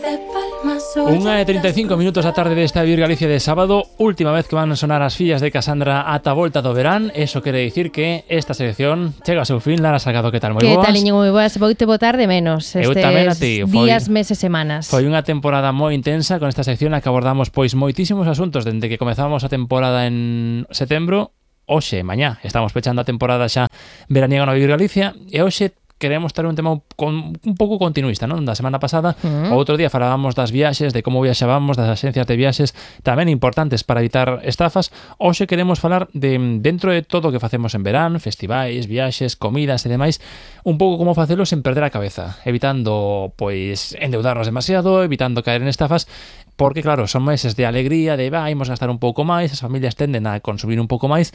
1:35 a tarde desta Vivir Galicia de sábado. Última vez que van a sonar as fillas de Casandra ata a volta do verán. Eso quere dicir que esta sección chega ao seu fin. Lara Salgado, que tal? Moi boas. Que tal, Iñigo? Moi boas. Voute botar de menos estes días, meses, semanas. Foi unha temporada moi intensa con esta sección na que abordamos pois moitísimos asuntos dende que comezamos a temporada en setembro. Hoxe, mañá, estamos pechando a temporada xa veraniega no Vivir Galicia e hoxe queremos ter un tema un pouco continuista, non? Da semana pasada, o outro día falábamos das viaxes, de como viaxábamos, das axencias de viaxes, tamén importantes para evitar estafas. Hoxe queremos falar de, dentro de todo o que facemos en verán, festivais, viaxes, comidas e demais, un pouco como facelo sen perder a cabeza, evitando, pois, endeudarnos demasiado, evitando caer en estafas, porque, claro, son meses de alegría, de imos gastar un pouco máis, as familias tenden a consumir un pouco máis,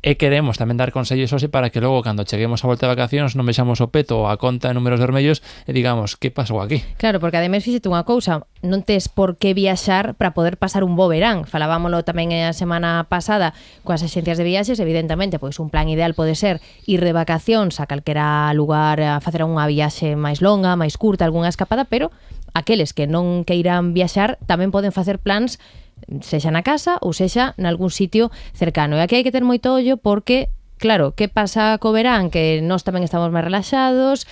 e queremos tamén dar consellos hoxe para que logo cando cheguemos a volta de vacacións non vexamos o peto ou a conta de números vermellos e digamos, que pasou aquí? Claro, porque ademais fíxete unha cousa, non tes por que viaxar para poder pasar un bo verán. Falábamolo tamén a semana pasada coas axencias de viaxes, evidentemente, pois un plan ideal pode ser ir de vacacións a calquera lugar a facer unha viaxe máis longa, máis curta, algunha escapada, pero aqueles que non queiran viaxar tamén poden facer plans sexa na casa ou sexa nalgún sitio cercano. E aquí hai que ter moito ollo porque, claro, que pasa co verán? Que nós tamén estamos máis relaxados,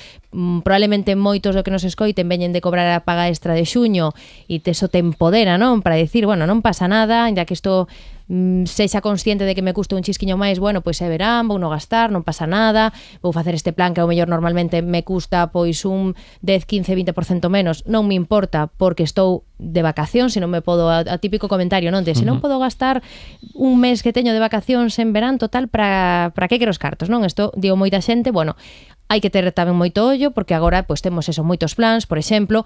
probablemente moitos do que nos escoiten veñen de cobrar a paga extra de xuño e teso te empodera, non? Para dicir, bueno, non pasa nada, ya que isto sexa consciente de que me custa un chisquiño máis, bueno, pois é verán, vou non gastar, non pasa nada, vou facer este plan que ao mellor normalmente me custa pois un 10, 15, 20% menos, non me importa porque estou de vacacións, se non me podo, a típico comentario, non? De se non podo gastar un mes que teño de vacacións en verán, total, para que quero os cartos, non? Isto digo moita xente, bueno, hai que ter tamén moito ollo porque agora pois temos eso, moitos plans, por exemplo,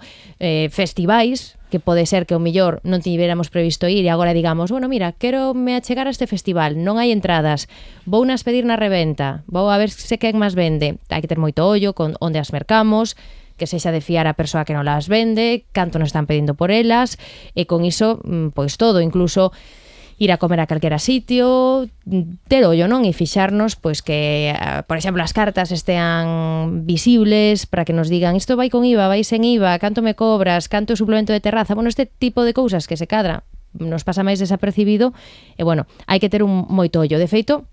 festivais, que pode ser que o millor non tiveramos previsto ir e agora digamos, bueno, mira, quero me achegar a este festival, non hai entradas, vou nas pedir na reventa, vou a ver se quen máis vende. Hai que ter moito ollo con onde as mercamos, que sexa de fiar a persoa que non las vende, canto nos están pedindo por elas, e con iso, pois todo, incluso ir a comer a calquera sitio, ter ollo, non? E fixarnos, pois que, por exemplo, as cartas estean visibles para que nos digan isto vai con IVA, vai sen IVA, canto me cobras, canto é suplemento de terraza, bueno, este tipo de cousas que se cadra nos pasa máis desapercibido, e bueno, hai que ter un moito ollo. De feito,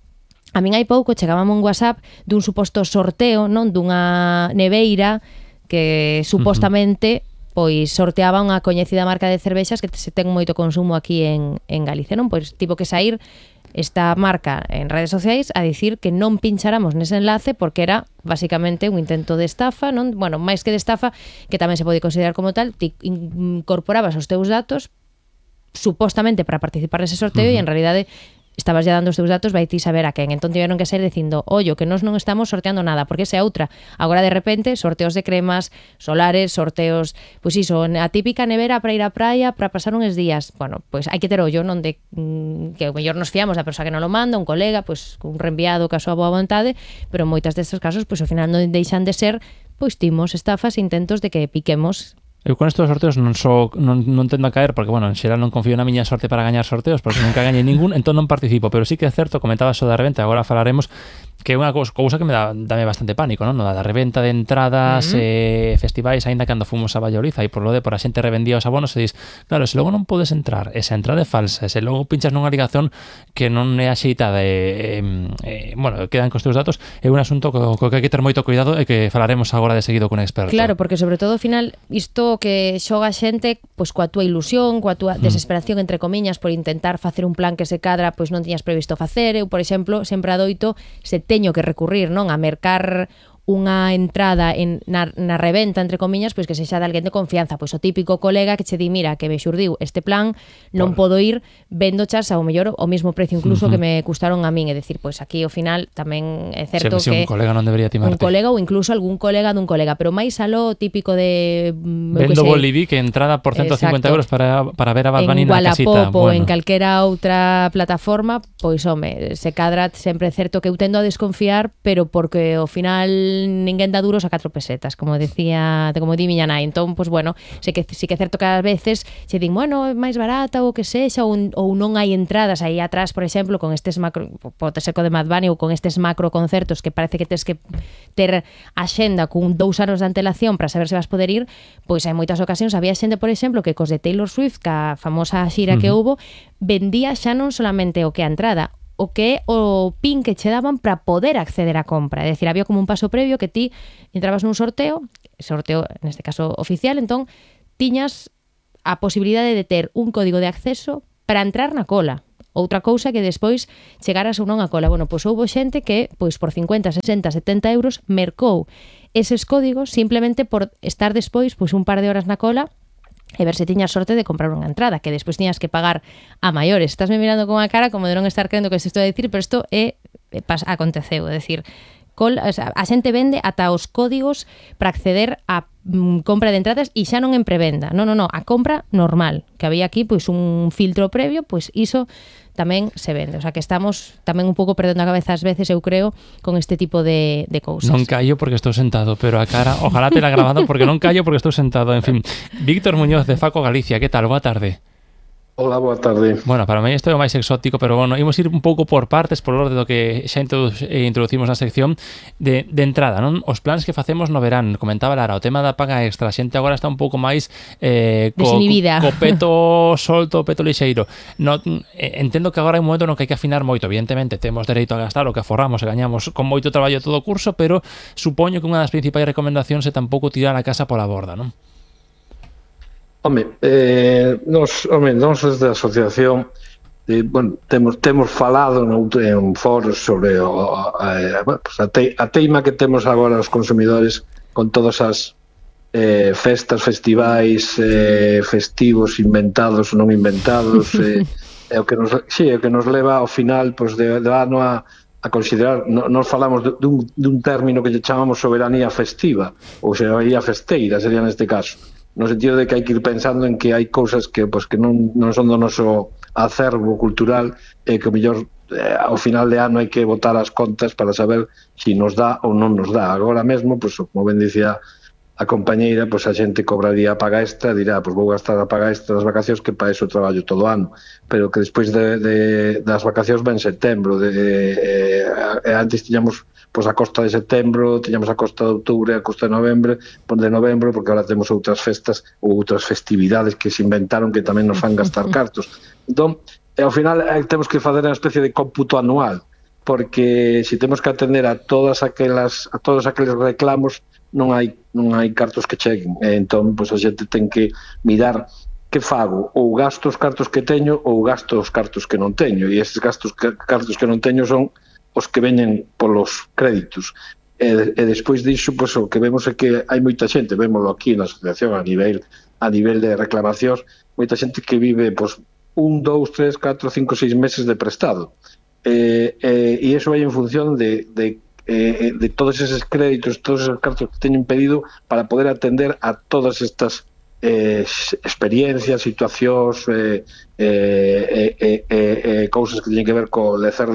a min hai pouco chegábame un WhatsApp dun suposto sorteo, non? Dunha neveira que supostamente pois sorteaba unha coñecida marca de cervexas que se ten moito consumo aquí en Galicia, non? Pois tivo que sair esta marca en redes sociais a dicir que non pincháramos nese enlace porque era basicamente un intento de estafa, non? Bueno, máis que de estafa, que tamén se pode considerar como tal, ti incorporabas os teus datos supostamente para participar nese sorteo e en realidade estabas ya dando os teus datos, vai ti saber a quen. Entón tiveron que sair dicindo, ollo, que nós non estamos sorteando nada, porque esa é outra. Agora de repente, sorteos de cremas, solares, sorteos, pois iso, a típica nevera para ir á praia, para pasar uns días. Bueno, pois hai que ter ollo, non de que o mellor nos fiamos da persoa que non lo manda, un colega, pois un reenviado ca súa boa vontade, pero en moitas destes casos, pois ao final non deixan de ser, pois timos, estafas, intentos de que piquemos. Eu con estes sorteos non tendo a caer porque, bueno, en xeral non confío na miña sorte para gañar sorteos porque nunca gañei ningún, entón non participo, pero sí que é certo, comentaba eso da reventa, agora falaremos que é unha cousa que me dame bastante pánico, non? Da reventa de entradas, festivais, aínda cando fomos a Valladolid, aí por a xente revendía os abonos e dis, claro, se logo non podes entrar, esa entrada é falsa, se logo pinchas nunha ligazón que non é axeitada bueno, quedan cos teus datos, é un asunto co que hai que ter moito cuidado e que falaremos agora de seguido con un experto. Claro, porque sobre todo ao final isto que xoga a xente pois coa túa ilusión, coa túa desesperación entre comiñas por intentar facer un plan que se cadra, pois non tiñas previsto facer. Eu, por exemplo, sempre adoito se teño que recurrir, non, a mercar unha entrada na reventa, entre comiñas, pois que sexa de alguén de confianza, pois o típico colega que che di, mira, que me xurdiu este plan, non podo ir, vendo chas ao mellor o mesmo precio incluso que me custaron a min, é dicir, pois aquí ao final tamén é certo que un colega non debería timarte. Un colega ou incluso algún colega dun colega, pero máis aló típico de vendo Boliví que entrada por 150 euros para ver a Bad Bunny na casita. Wallapop ou en calquera outra plataforma, pois home, se cadra sempre é certo que eu tendo a desconfiar, pero porque ao final ninguén dá duros a 4 pesetas, como di miña nai. Entón, pois bueno, sí que é certo que ás veces se din, bueno, é máis barata ou que sexa, ou non hai entradas aí atrás, por exemplo, con estes macro, pode ser co de Mad Bunny ou con estes macro concertos que parece que tes que ter a xenda con 2 anos de antelación para saber se vas poder ir, pois hai moitas ocasións, había xente, por exemplo, que cos de Taylor Swift, ca famosa xira que houbo, vendía xa non solamente o que a entrada, o que é o pin que che daban para poder acceder á compra. É dicir, había como un paso previo que ti entrabas nun sorteo, neste caso oficial, entón tiñas a posibilidade de ter un código de acceso para entrar na cola. Outra cousa que despois chegaras ou non a cola. Bueno, pois houbo xente que, pois por 50, 60, 70 euros mercou eses códigos simplemente por estar despois pois un par de horas na cola e ver se tiñas sorte de comprar unha entrada, que despois tiñas que pagar a maiores. Estásme mirando con a cara como de non estar crendo que se estou a dicir, pero isto aconteceu, é dicir, a xente vende ata os códigos para acceder a compra de entradas e xa non en prevenda. Non, a compra normal, que había aquí pois un filtro previo, pois iso tamén se vende. O sea que estamos tamén un pouco perdendo a cabeza ás veces, eu creo, con este tipo de cousas. Non callo porque estou sentado, pero a cara, ojalá te la grabado porque non callo porque estou sentado. En fin, Víctor Muñoz de Faco Galicia, que tal? Boa tarde. Hola, boa tarde. Bueno, para mí isto é o máis exótico, pero bueno, imos ir un pouco por partes, por orde do que xa introducimos na sección de entrada, non? Os plans que facemos no verán, comentaba Lara, o tema da paga extra, a xente agora está un pouco máis co peto solto, o peto lixeiro. No, entendo que agora hai un momento no que hai que afinar moito, evidentemente, temos dereito a gastar o que aforramos e gañamos con moito traballo todo o curso, pero supoño que unha das principais recomendacións é tampouco tirar a casa pola borda, non? Nos desde a asociación temos falado en foros sobre a teima que temos agora os consumidores con todas as festas, festivais, festivos inventados ou non inventados, é o que nos leva ao final de ano a considerar, nos falamos dun término que lle chamamos soberanía festiva ou soberanía festeira, sería neste caso, no sentido de que hai que ir pensando en que hai cousas que non son do noso acervo cultural e que mellor ao final de ano hai que botar as contas para saber se nos dá ou non nos dá. Agora mesmo, como ben dicía a compañeira, a xente cobraría a paga extra, dirá, vou gastar a paga extra das vacacións que para eso traballo todo o ano, pero que despois das vacacións ven setembro, antes tiñamos a costa de setembro, tiñamos a costa de outubro, a costa de novembro, porque agora temos outras festas ou outras festividades que se inventaron que tamén nos fan gastar cartos. Entón, ao final temos que fazer unha especie de cómputo anual, porque se temos que atender a todos aqueles reclamos, non hai cartos que cheguen. Entón, a xente ten que mirar que fago, ou gasto os cartos que teño ou gasto os cartos que non teño, e estes cartos que non teño son os que veñen polos créditos. E despois disso, o que vemos é que hai moita xente, vémoslo aquí na asociación a nivel de reclamacións, moita xente que vive 1, 2, 3, 4, 5, 6 meses de prestado. E iso vai en función de todos eses créditos, todos esos cartos que teñen pedido para poder atender a todas estas experiencias, situacións, cousas que teñen que ver co lecer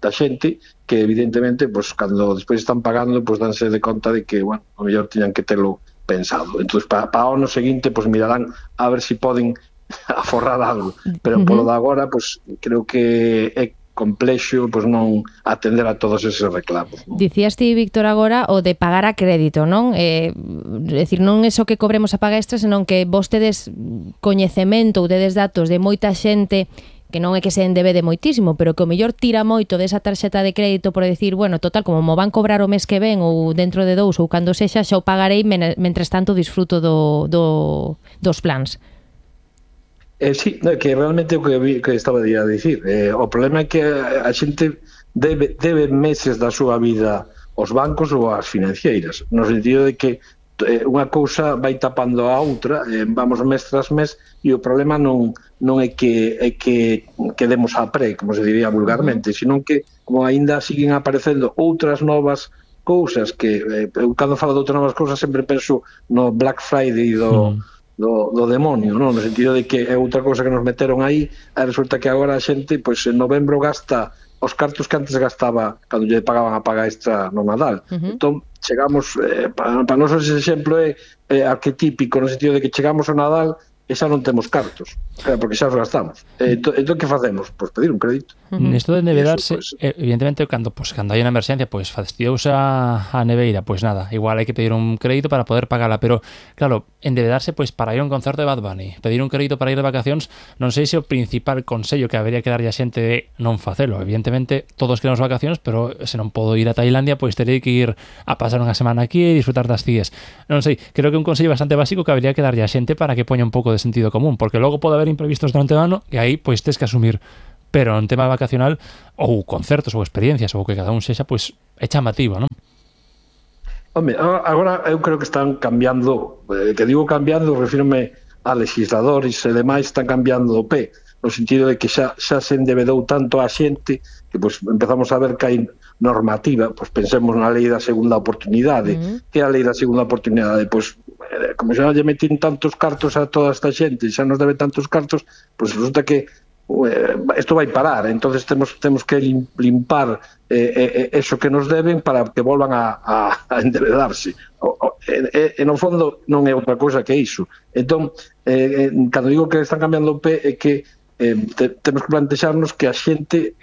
da xente, que evidentemente, cando despois están pagando, danse de conta de que, a mellor tiñan que telo pensado. Entón, para o ano seguinte, mirarán a ver se poden aforrar algo, pero polo de agora, creo que é complexo non atender a todos eses reclamos, non? Dicías ti, Víctor, agora o de pagar a crédito, non? É dicir, non é só que cobremos a paga extra, senón que vos tedes coñecemento ou tedes datos de moita xente que non é que se endebede moitísimo, pero que o mellor tira moito desa tarxeta de crédito por decir, bueno, total, como mo van cobrar o mes que ven ou dentro de 2 ou cando sexa, xa o pagarei, mentres tanto disfruto dos plans. Sí, que realmente o que estaba a dicir, o problema é que a xente debe meses da súa vida aos bancos ou ás financeiras, no sentido de que unha cousa vai tapando a outra, vamos mes tras mes, e o problema non é que demos a pre, como se diría vulgarmente, sino que como aínda siguen aparecendo outras novas cousas que, eu cando falo de outras novas cousas sempre penso no Black Friday do demonio, non? No sentido de que é outra cousa que nos meteron aí, e resulta que agora a xente, en novembro gasta os cartos que antes gastaba cando lle pagaban a paga extra no Nadal. Entón, chegamos, para nós ese exemplo é arquetípico no sentido de que chegamos ao Nadal e xa non temos cartos, porque xa os gastamos. Entón, que facemos? Pois pedir un crédito. Nesto de endebedarse, evidentemente, cando hai unha emerxencia, pois fastidiouse a neveira, pois nada, igual hai que pedir un crédito para poder pagala, pero, claro, endebedarse, pois para ir a un concerto de Bad Bunny, pedir un crédito para ir de vacacións, non sei se o principal consello que habería que darlle a xente de non facelo. Evidentemente, todos queremos vacacións, pero se non podo ir a Tailandia, pois terei que ir a pasar unha semana aquí e disfrutar das cíes. Non sei, creo que un consello bastante básico que habería que darlle a xente para que poña un pouco de sentido común, porque logo pode haber imprevistos durante o ano e aí pois tes que asumir, pero en tema vacacional ou concertos ou experiencias ou que cada un sexa, pois é chamativo, non? Home, agora eu creo que están cambiando, que digo cambiando, refírome a legisladores e demais, están cambiando o pé, no sentido de que xa se endebedou tanto a xente que pois empezamos a ver que hai normativa, pois pensemos na lei da segunda oportunidade. Que é a lei da segunda oportunidade? Pois como xa lle metín tantos cartos a toda esta xente, xa nos debe tantos cartos, pois resulta que isto vai parar, entonces temos que limpar eso que nos deben para que volvan a endebedarse. E no fondo non é outra cousa que iso. Entón, cando digo que están cambiando o pé, é que temos que plantexarnos que a xente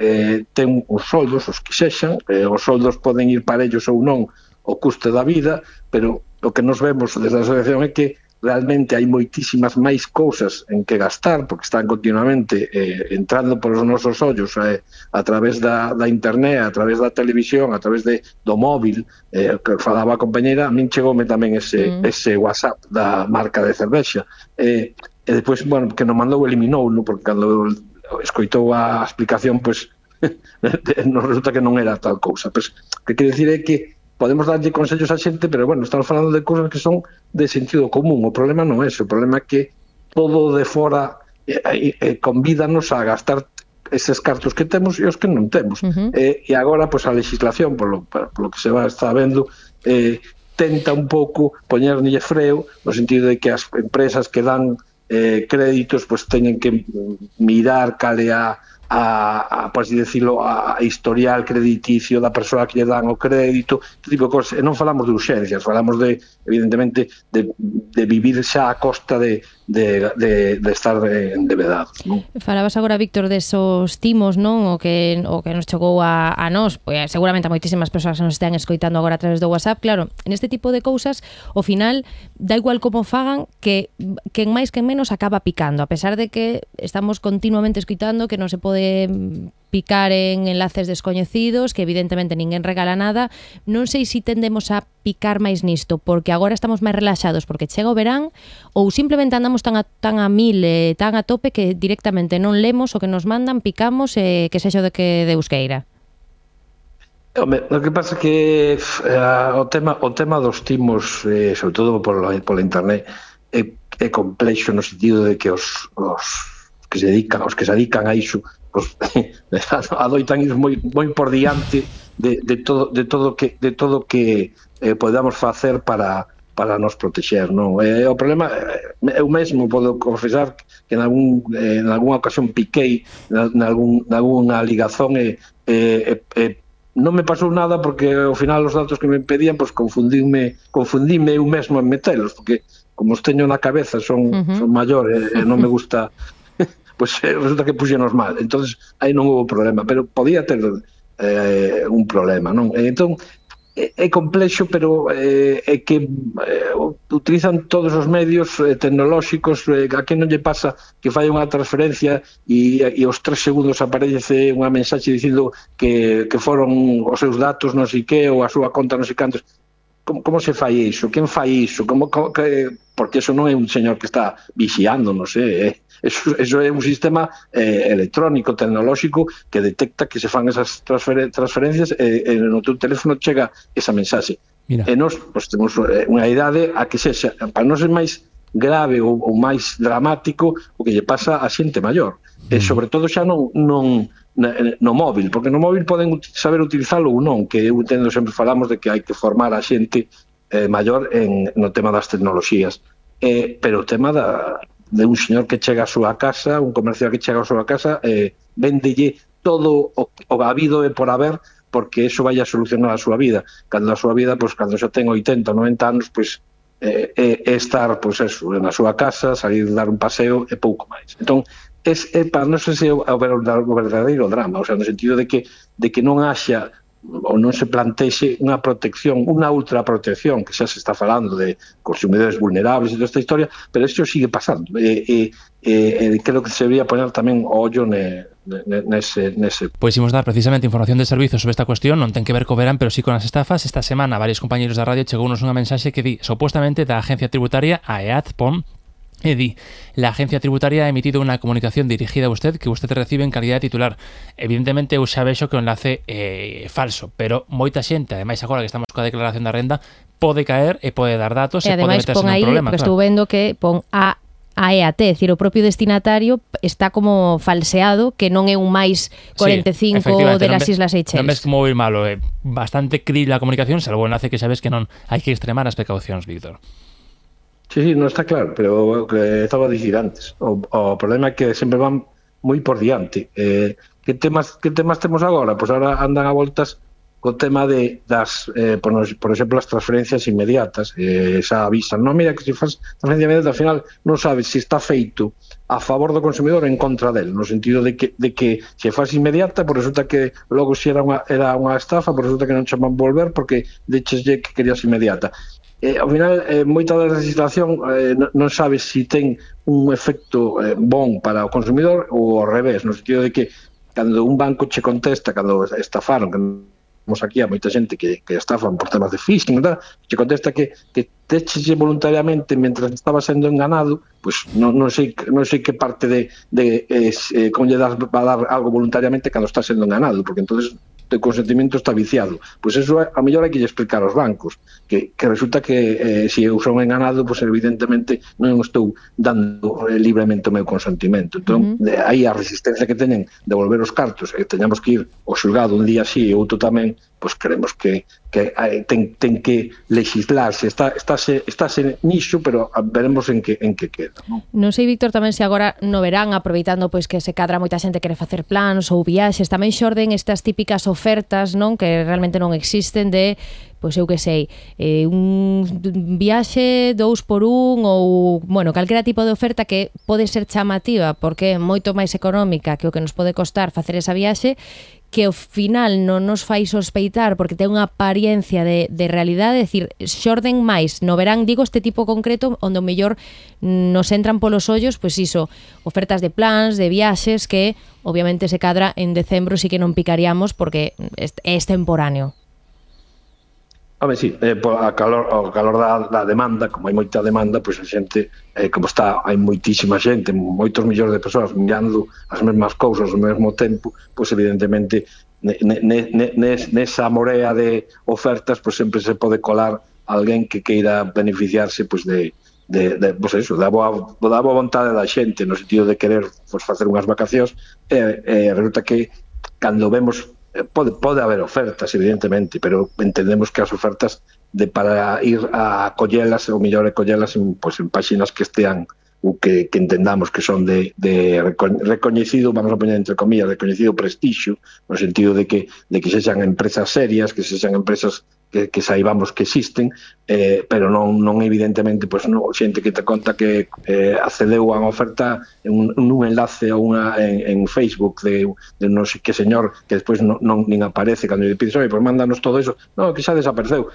ten os soldos, os que sexan, os soldos poden ir para ellos ou non o custe da vida, pero o que nos vemos desde a asociación é que realmente hai moitísimas máis cousas en que gastar, porque están continuamente entrando polos nosos ollos a través da internet, a través da televisión, a través do móvil, que falaba a compañera. A min chegoume tamén ese WhatsApp da marca de cervexa, e depois, bueno, que nos mandou eliminou, porque cando escoitou a explicación, pois nos resulta que non era tal cousa. Pois, que quere dicir é que podemos darlle consellos a xente, pero bueno, estamos falando de cousas que son de sentido común. O problema non é ese, o problema é que todo de fora convídanos a gastar eses cartos que temos e os que non temos. E agora, pois, a legislación, polo que se está vendo, tenta un pouco poñerlle freo, no sentido de que as empresas que dan créditos, pois teñen que mirar cale por así decirlo, a historial crediticio da persoa que lle dan o crédito, este tipo de cosas. E non falamos de urxencias, falamos evidentemente, de vivir xa a costa de estar endebedados, non? Falabas agora, Víctor, desos timos, non? O que nos chegou a nós, pois seguramente a moitísimas persoas que nos están escoitando agora a través do WhatsApp. Claro, en este tipo de cousas, ao final, da igual como fagan, que en máis que en menos acaba picando, a pesar de que estamos continuamente escoitando que non se pode picar en enlaces descoñecidos, que evidentemente ninguén regala nada. Non sei se tendemos a picar máis nisto porque agora estamos máis relaxados porque chega o verán, ou simplemente andamos tan a mil, tan a tope, que directamente non lemos o que nos mandan, picamos, que sexa de que Deus queira. Home, o que pasa é que o tema dos timos, sobre todo pola internet, é complexo no sentido de que os que se dedican a iso, pues, adoitan ir moi por diante de todo que podamos facer para nos protexer, non? O problema, eu mesmo podo confesar que en algunha ocasión piquei nalgúna ligazón e non me pasou nada, porque ao final os datos que me pedían, pues confundíme eu mesmo en metelos, porque como os teño na cabeza son maior e non me gusta, pues resulta que puxenos mal. Entonces aí non houve problema, pero podía ter un problema, non? Entón é complexo, pero é que utilizan todos os medios tecnolóxicos. A que non lle pasa que fai unha transferencia e aos 3 segundos aparece unha mensaxe dicindo que foron os seus datos non sei que, ou a súa conta non sei cantos. Como se fai iso? Quen fai iso? Porque eso non é un señor que está vixiando, non sei, eso é un sistema electrónico, tecnolóxico, que detecta que se fan esas transferencias e no teu teléfono chega esa mensaxe. E nós temos unha idade a que sexa, para non ser máis grave ou máis dramático, o que lle pasa a xente maior. E sobre todo xa non no móvil, porque no móvil poden saber utilizalo ou non, que eu entendo, sempre falamos de que hai que formar a xente maior no tema das tecnoloxías, pero o tema de un señor que chega á súa casa, un comercial que chega á súa casa, véndelle todo o habido e por haber, porque eso vai a solucionar a súa vida. Cando a súa vida, pois, cando xa ten 80 ou 90 anos, pois, estar, pois, eso, na súa casa, salir dar un paseo e pouco máis. Entón, para non sei se é o verdadeiro drama, o sea, no sentido de que non haxa ou non se plantexe unha protección, unha ultraprotección, que xa se está falando de consumidores vulnerables e toda esta historia, pero isto sigue pasando. Creo que se debería poner tamén o ollo nese. Pois imos dar precisamente información de servizos sobre esta cuestión, non ten que ver co verán, pero sí con as estafas. Esta semana varios compañeros da radio chegounos unha mensaxe que di, supuestamente da agencia tributaria, a EATPON, e di, la agencia tributaria ha emitido una comunicación dirigida a usted que usted recibe en calidad de titular. Evidentemente eu xa vexo que o enlace é falso, pero moita xente, ademais agora que estamos coa declaración da renda, pode caer e pode dar datos e pode meterse nun problema. Estou vendo que pon a EAT, é dicir, o propio destinatario está como falseado, que non é un máis 45 de las Islas Seychelles. Non ves como ir malo, é bastante krill a comunicación, salvo o enlace que sabes que non hai que extremar as precaucións, Víctor. Sí, non está claro, pero o que estaba a dicir antes, o problema é que sempre van moi por diante. Que temas temos agora? Pois agora andan a voltas co tema das, por exemplo, as transferencias inmediatas. Xa avisan, non, mira, que se faz transferencia inmediata, ao final non sabes se está feito a favor do consumidor ou en contra del, no sentido de que se faz inmediata, por resulta que logo se era unha estafa, por resulta que non chaman volver porque decheslle que querías inmediata. Ao final, moita da legislación non sabe se ten un efecto bon para o consumidor ou ao revés, no sentido de que cando un banco che contesta, cando estafaron, que temos aquí a moita xente que estafan por temas de phishing, che contesta que techeche voluntariamente mentras estaba sendo enganado, pois non sei que parte de como lle das a dar algo voluntariamente cando está sendo enganado, porque entonces o consentimento está viciado. Pois eso a mellor hai que explicar aos bancos, que resulta que se eu son enganado, pois evidentemente non estou dando libremente o meu consentimento. Entón, aí a resistencia que teñen de volver os cartos e teñamos que ir ao xulgado un día así e outro tamén, pois creemos que ten que legislarse, estáse niso, pero veremos en que queda. Non sei, Víctor, tamén se agora no verán, aproveitando pois que se cadra moita xente quere facer plans ou viaxes, tamén xorden estas típicas ofertas, non, que realmente non existen, de pois eu que sei, un viaxe 2x1 ou, bueno, calquera tipo de oferta que pode ser chamativa porque é moito máis económica que o que nos pode costar facer esa viaxe, que ao final non nos fai sospeitar porque ten unha apariencia de realidade, é dicir, xorden máis no verán, digo, este tipo concreto onde o mellor nos entran polos ollos, pois iso, ofertas de plans, de viaxes que obviamente se cadra en decembro, sí que non picaríamos porque é extemporáneo. Home, sí, o calor da demanda, como hai moita demanda, pois a xente, como está, hai moitísima xente, moitos millóns de persoas mirando as mesmas cousas ao mesmo tempo, pois evidentemente nesa morea de ofertas, pois sempre se pode colar alguén que queira beneficiarse pois pois eso, da boa vontade da xente, no sentido de querer pois facer unhas vacacións, resulta que cando vemos pode haber ofertas, evidentemente, pero entendemos que as ofertas para ir a collelas, ou mellor collelas en páxinas que estean ou que entendamos que son de recoñecido, vamos a poñer entre comillas, recoñecido prestixio, no sentido de que sexan empresas serias, que sexan empresas que saibamos que existen, pero non evidentemente xente que te conta que accedeu a unha oferta nun enlace ou en Facebook de non sei que señor que despois non nin aparece cando lle pides, pois mándanos todo eso, non, que xa desapareceu.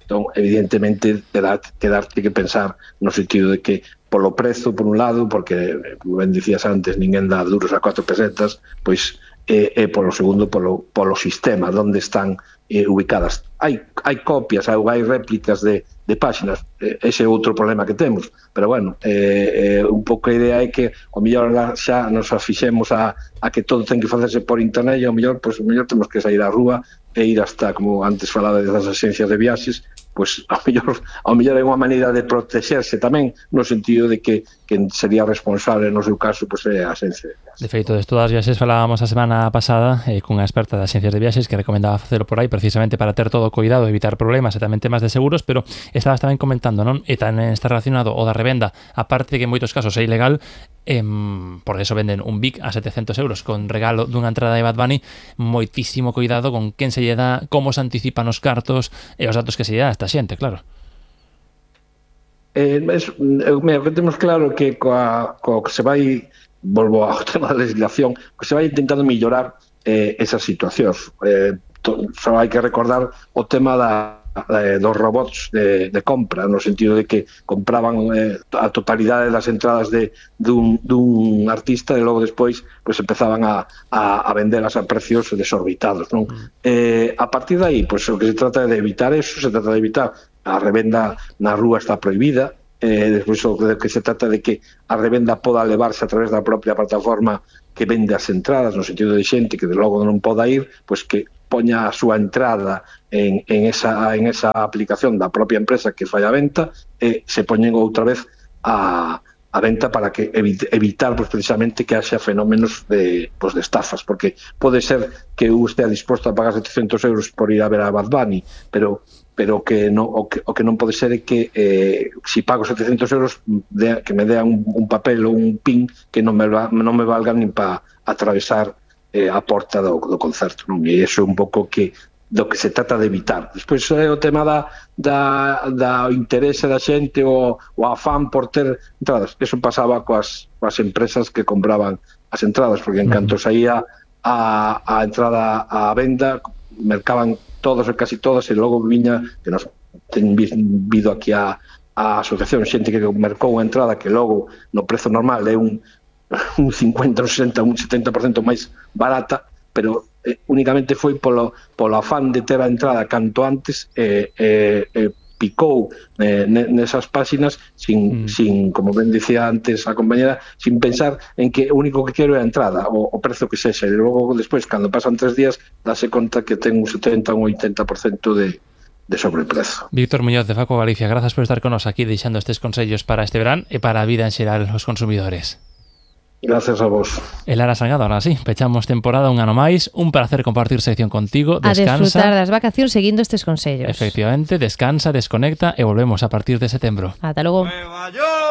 Entón, evidentemente, quedarte que pensar no sentido de que polo prezo, por un lado, porque, como ben dicías antes, ninguén dá duros a 4 pesetas, pois polo segundo, polo sistema, onde están ubicadas. Hai copias, hai réplicas de páxinas, ese é outro problema que temos, pero bueno, un pouco a idea é que o mellor xa nos afixemos a que todo ten que facerse por internet e o mellor temos que sair á rúa e ir hasta, como antes falaba das axencias de viaxes, pois ao mellor é unha maneira de protexerse tamén, no sentido de que sería responsable no seu caso pois é a axencia de viaxes. De feito, de todas as viaxes falábamos a semana pasada cunha experta de axencias de viaxes que recomendaba facelo por aí precisamente para ter todo o cuidado, evitar problemas e tamén temas de seguros, pero estabas tamén comentando, non? E tamén está relacionado o da revenda, aparte de que en moitos casos é ilegal, por eso venden un Vic a 700 euros con regalo dunha entrada de Bad Bunny. Moitísimo cuidado con quen se lle dá, como se anticipan os cartos e os datos que se lle dá a esta xente, claro. O que temos claro que coa que se vai, volvo ao tema da legislación, que se vai intentando mellorar esas situacións. Só hai que recordar o tema dos robots de compra, no sentido de que compraban a totalidade das entradas dun artista e logo despois pues, empezaban a vendelas a precios desorbitados, non? A partir de aí, pues, o que se trata de evitar eso, se trata de evitar a revenda na rúa está prohibida, despois o que se trata de que a revenda poda levarse a través da propia plataforma que vende as entradas, no sentido de xente que de logo non poda ir, pues que poña a súa entrada en esa aplicación da propia empresa que fai a venta e se poñen outra vez a venta para que evitar pues, precisamente que haxa fenómenos de estafas, porque pode ser que eu estea disposto a pagar 700 euros por ir a ver a Bad Bunny, pero que o que non pode ser é que si pago 700 euros que me dean un papel ou un pin que non me valga nin para atravesar a porta do concerto, non? E iso é un pouco do que se trata de evitar. Despois o tema da interese da xente o afán por ter entradas. Eso pasaba coas empresas que compraban as entradas, porque en canto saía a entrada á venda, mercaban todos e casi todas, e logo viña, que nos ten vido aquí a asociación, xente que mercou a entrada que logo no prezo normal é un 50, un 60, un 70% máis barata, pero únicamente foi polo afán de ter a entrada canto antes picou nesas páxinas sin, como ben dicía antes a compañera, sin pensar en que o único que quero é a entrada, o prezo que sexa, e logo despois, cando pasan 3 días, dáse conta que ten un 70 ou un 80% de sobreprezo. Víctor Muñoz de Faco Galicia, grazas por estar con nos aquí deixando estes consellos para este verán e para a vida en xeral os consumidores. Gracias a vos. El Lara Salgado, ahora sí, pechamos temporada un ano máis, un placer compartir sección contigo, descansa. A disfrutar das vacacións seguindo estes consellos. Efectivamente, descansa, desconecta e volvemos a partir de setembro. Ata logo.